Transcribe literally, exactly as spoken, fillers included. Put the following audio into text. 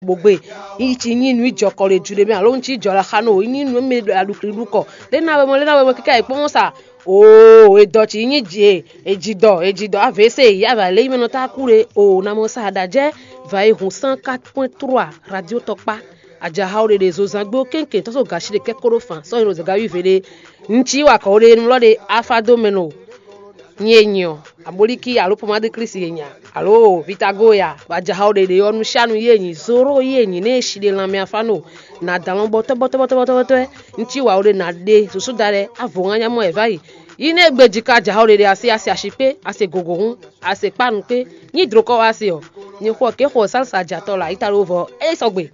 kpo gbe. Yi ci nyí nǔ jɔ kɔ ɖe ju ɖe mɛ alo un cí jɔ la xa nɔ o, yi nyí nǔ mɛ ɖo aɖukli ɖu kɔ. Ɖé na wɛ mɔ, ɖé na wɛ mɔ kíká yi kpɔ́n sa. Oo, edɔ ci nyí jì e, ejidɔ, ejidɔ avc, ya va lé yi mɛ nɔ ta kú ɖe o, na mɔ sa aɖa jɛ. Va yi hun cent quatre point trois radio tɔkpa. Ajaha o ɖeɖe zo zan gbé o kɛnkɛn tɔ́ so gashi ɖe kɛkó ɖo fan sɔ́ yi ɖo zɛga wi ve ɖe. Un cí wa kɔ o ɖe nulɔ ɖe afa dó mɛ nɔ. Nyɛ e nyi ɔ́, abolíkí alo pomadu klísi e nya, alo vitago ya, bɔ ajaha o ɖeɖe ɔ́, nu sha nu yi e nyi zoro yi e nyi nɛ e shi ɖe lanmɛ afa nɔ. Na dan lɔn bɔtɔ́ bɔtɔ́ bɔtɔ́ bɔtɔ́ bɔtɔ́. Un cí wa o ɖe na ɖe susu da ɖɛ avo ŋa nya mɔ ɛ va yi. Yi nɛ e gbe jika ajaha o ɖeɖe asi asi ashikpé ase gogo hún, ase kpá nukpé. Nyi dlokɔ wá se ɔ́, nyi xɔ ké xɔ sálisa jatɔ la yi ta ɖo vɔ é sɔgbe.